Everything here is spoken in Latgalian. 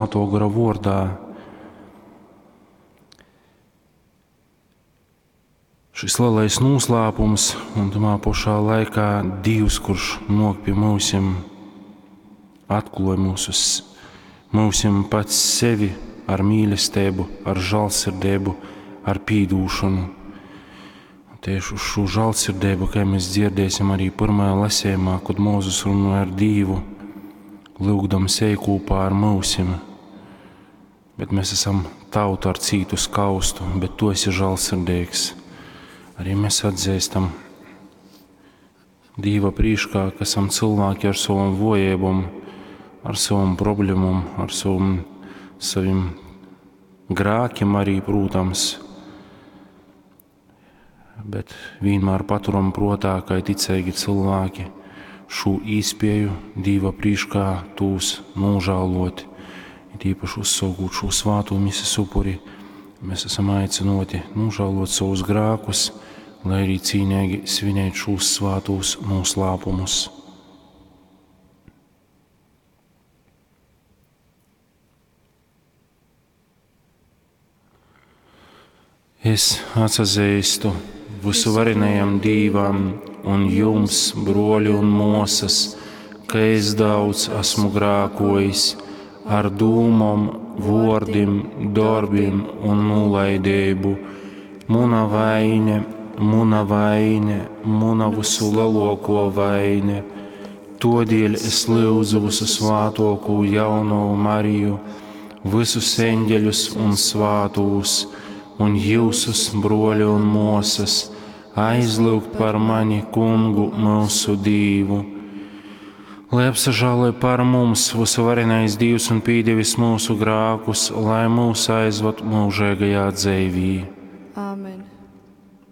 Svātō Gora vōrdā. Šis lielais noslēpums un tamā pašā laikā Dievs, kurš nāk pie mūsim, atklāja mūsim pats sevi ar mīlestību, ar žēlsirdību, ar pīdūšanu. Tieši uz šo žēlsirdību, kā mēs dzirdēsim arī pirmajā lasījumā, kad Mūzus runāja ar Dievu, lūgdams ej kopā ar mūsim. Bet mēs esam tauta ar cītu skaustu, bet tu esi žēlsirdīgs. Arī mēs atzīstam Dieva priekšā, ka esam cilvēki ar savam vojībām, ar savam problēmām, ar saviem grēkiem arī, protams. Bet vienmēr paturam prātā, ka ticīgi cilvēki šo īspēju Dieva priekšā tūs nožēlot, it īpaši uzsaukot šo svāto mises upuri, mēs esam aicināti nožēlot savus grēkus, lai arī cīnīgi svinētu šos svātos noslēpumus. Es atsazīstu visuvarenajam Dīvam un jums, broļi un mosas, ka es daudz esmu grākojis ar dūmom, vordim, darbiem un nolaidību. Muna vaine, muna vaine, muna visu lielāko vaine. Todēļ es lūdzu visu svātoko jauno Mariju, visus eņģeļus un svātūs, un jūsus, broļi un mosas, aizlūgt par mani kungu mūsu Dīvu. Lai apsažāloj par mums visuvarenais Dievs un pīdevis mūsu grākus, lai mūs aizvad mūžīgajā dzīvī. Āmen.